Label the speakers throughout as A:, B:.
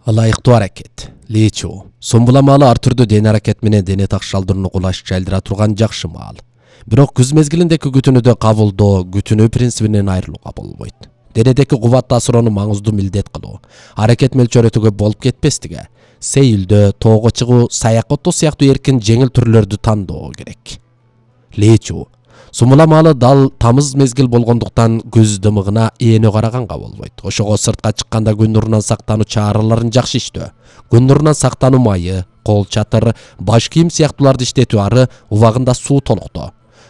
A: Ылайыктуу аракет. Лечу. Сомбула маалы ар түрдүү дене аракет менен дене такшалдырууну кулаш жайдыра турган жакшы маал. Бирок күз мезгилиндеки күтүүнүдө кабылдоо күтүүнү принцибинен айрылууга болбойт. Денедеки кубат таасырууну маңыздуу милдет кылуу, аракет мөлчөрөтүүгө болуп кетпестиги, сейилдөө, тоого чыгуу, саякка отуу сыяктуу эркин жеңил түрлөрдү тандоо керек. Лечу. Сумула маалы дал тамыз мезгил болгондуктан күз дымыгына эне караганга болбойт. Ошого сыртка чыкканда күн нурунан сактануу чараларын жакшы иштөө, күн нурунан сактануу майы, кол чатыр, баш кийим сыяктууларды иштетүү ары убагында суу толуктоо.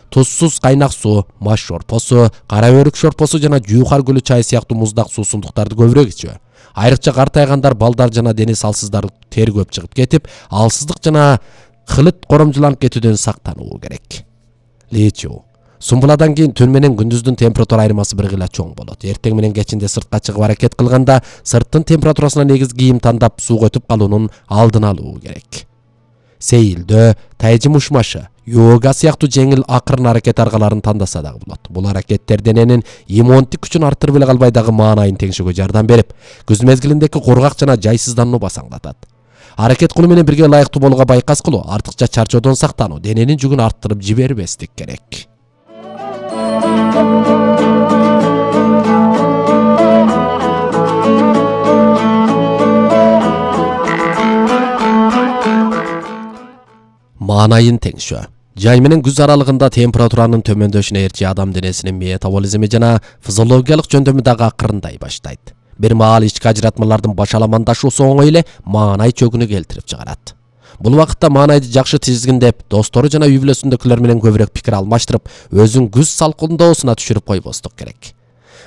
A: Тузсуз кайнак суу, маш шорпосу, кара өрүк шорпосу жана жуухар гүлү чай сыяктуу муздак суусундуктарды көбүрөөк ичүү. Айрыкча картайгандар, балдар жана дени салсыздар тер көп чыгып кетип, алсыздык жана хылыт коромжуланып кетүүдөн сактануу керек. Лечу. Сумбуладан кийин түн менен күндүздүн температура айырмасы бир гыйла чоң болот. Эртең менен кечинде сыртка чыгып аракет кылганда сырттын температурасына негиз кийим тандап сууга өтүп калуунун алдын алуу керек. Сейилдөө, тайжым ушмашы, йога сыяктуу жеңил акырын аракет аргаларын тандаса дагы болот. Бул аракеттер дененин иммундук күчүн арттырып эле калбай дагы маанайын теңшөөгө жардам берип, күз мезгилиндеки кургак жана жайсызданууну басаңдатат. Аракет кылуу менен бирге ылайыктуу болууга байкас кылуу, артыкча чарчоодон сактануу, дененин жүгүн арттырып жибербестик керек. Маанайын теңшөө. Жай менен күз аралыгында температуранын төмөндөшүнө ээрчи адам денесинин метаболизми жана физиологиялык жөндөмү дагы акырындай баштайт. Бир маал ички ажыратмалардын башаламандашуусу оңой эле маанай чөгүнү келтирип чыгарат. Бул убакытта маанайды жакшы тизгиндеп, достору жана үй бүлөсүндөгүлөр менен көбүрөөк пикир алмаштырып, өзүн күз салкындоосуна түшүрүп койбостук керек.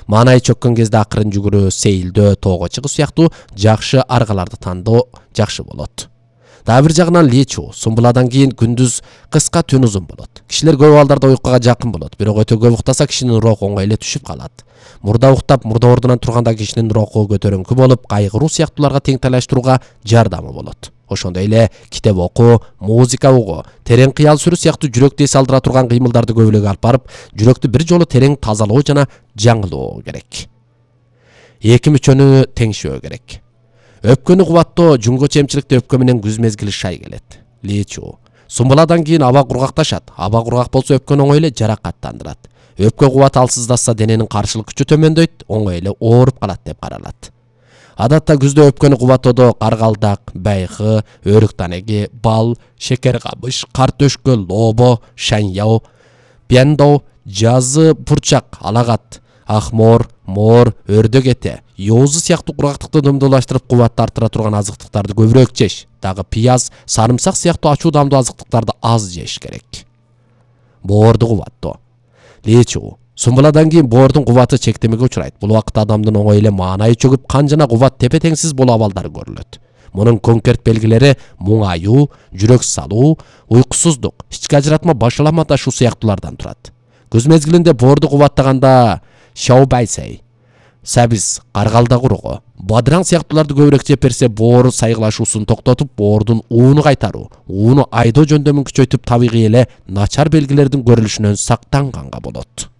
A: Маанай чөккөн кезде акырын жүгүрүү, сейилдөө, тоого чыгуу сыяктуу жакшы аргаларды тандоо жакшы болот. Дагы бир жагынан лечу. Сумбуладан кийин күндүз кыска, түн узун болот. Кишилер көп абалдарда уйкуга жакын болот, бирок өтө көп уктаса кишинин руху оңой эле түшүп калат. Мурда уктап, мурда ордунан турганда кишинин руху көтөрүңкү болуп, кайгыруу сыяктууларга тең талаштырууга жардамы болот. Ошондой эле китеп окуу, музыка угуу, терең кыял сүрүү сыяктуу жүрөктү эс алдыра турган кыймылдарды көбүлөк алып барып, жүрөктү бир жолу терең тазалоо жана жаңылоо керек. Эки мүчөнү теңшөө керек. Өпкөнү кубаттоо, жуңго чемчиликте өпкө менен күз мезгили шай келет. Лечу. Сумбуладан кийин аба кургакташат. Аба кургак болсо өпкөнү оңой эле жаракаттандырат. Өпкө кубаты алсыздаса дененин каршылык күчү төмөндөйт, оңой эле ооруп калат деп каралат. Адатта күздө өпкөнү кубаттоодо каргалдак, байкы, өрүк танеги, бал, шекер кабыш, кар төшкө, лобо, шаньяо, пендо, жазы пурчак, алагат, ахмор, мор, өрдөк эте, йоозу сыяктуу кургактыкты дымдуулаштырып кубатты арттыра турган азыктыктарды көбүрөөк жеш. Дагы пияз, сарымсак сыяктуу ачуу дамдуу азыктыктарды аз жеш керек. Боорду кубаттоо. Лечу. Сумбуладан кийин боордун кубаты чектемеге учурайт. Бул убакытта адамдын оңой эле маанайы чөгүп, кан жана кубат тепе-теңсиз болуу абалдары көрүлөт. Мунун конкрет белгилери муңаюу, жүрөк салуу, уйкусуздук, ички ажыратма башаламандашуу сыяктуулардан турат. Күз мезгилинде боорду кубаттаганда шаубайсей, сабиз, каргалда куругу, бадыраң сыяктууларды көбүрөөк жеп берсе, боору сайгылашуусун токтотуп, боордун ууну кайтаруу, ууну айдоо жөндөмүн күчөйтүп, табигый эле начар белгилердин көрүлүшүнөн сактанганга болот.